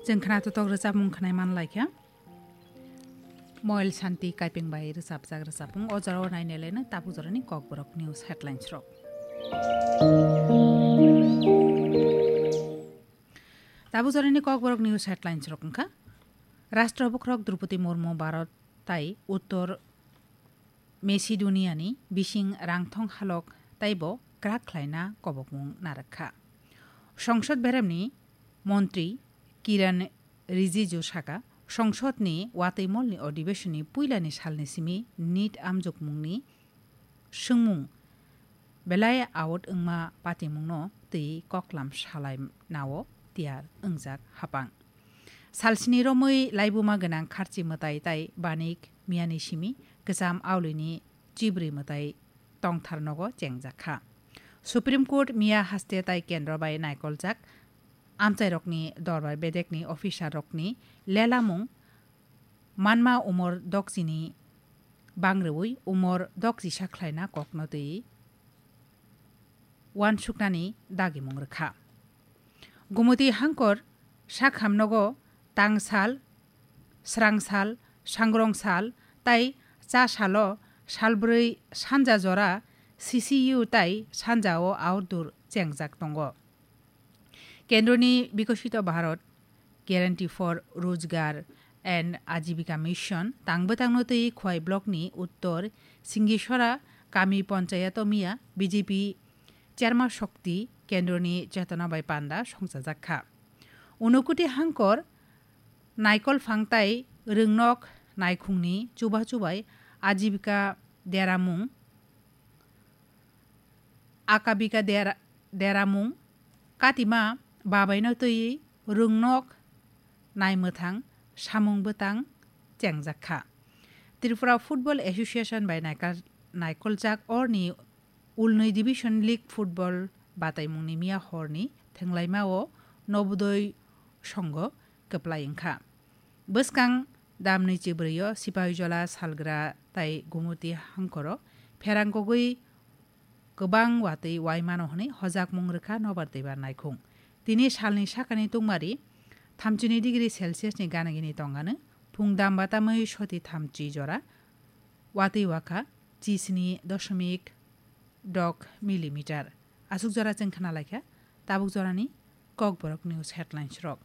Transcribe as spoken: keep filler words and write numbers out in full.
Chwng khna totok rwchapmung khwnai man lai kha. Moil Santi Kaipeng bai rwchapjak rwchapmung o jorao naineleno tabuk jorani Kokborok News headlines rok. Tabuk jorani Kokborok News headlines rok wngkha: Rashtra Bukrok Droupadi Murmu Bharat tai Uttor Macedonia ni bising rangthong halok taibo kwrak khlaina kobokmung narwk kha. Songsod beremni montri Kiran Rijiju saka, songsod ni watwi mol ni adhibeshon ni puila ni sal ni simi nit amjokmung ni swngmung belai out wngma patimung no twi koklam salai nao tiyar wngjak hapang. Salsini romwi laibuma gwnang kharchi mwtai tai banik miyani simi kwcham aulini chibri mwtai tongthar nogo chengjak kha. Supreme Court miya haste tai kendro bai naikoljak amchairokni dorbar bedekni officer rokni lelamung manma umor dokchini bangrwi umor dokchisa khlaina kokno twi uansuknani dagimung rwkha. Gumoti hangkor sakhamnogo tangsal, srangsal, sangrongsal tai chasalo salbrwi sanja jora C C U tai sanjao outdoor chengjak tongo. Kendroni Bikosito Bharat Guarantee for Rojgar and Ajibika Mission tangbwtangno twi Khwai Blockni Uttor Singisora Kami Ponchayato miya B J P Cherma Shokti Kendroni Chetona bai panda songchajak kha. Unukuti hangkor naikol phang tai rwngnok naikhungni chuba chubai ajibika deramung, akabika dera-, deramung, katima babaino twi rwngnok naimwthang samung bwtang chengjak kha. Tripura Football Association bai naikal-, naikoljak orni ulnwi Division League Football bataimungni miya horni thwnglaimao Nobodoi Songho kwplai wngkha. Bwskang damni chibrwio Sipahijola, Salgra tai Gumuti hangkoro pherang kogwi kwbang watwi uaimano hwnwi hojakmung rwkha Nobar Debbar naikhung. Tini salni sakani tungmari thamchini degree Celsius ni gana gini tongano phung dam batamwi soti thamchi jora watwi wakha chisni doshomik dok millimeter. Aswk jora chwng khna laikha tabuk jorani Kokborok News headlines rok.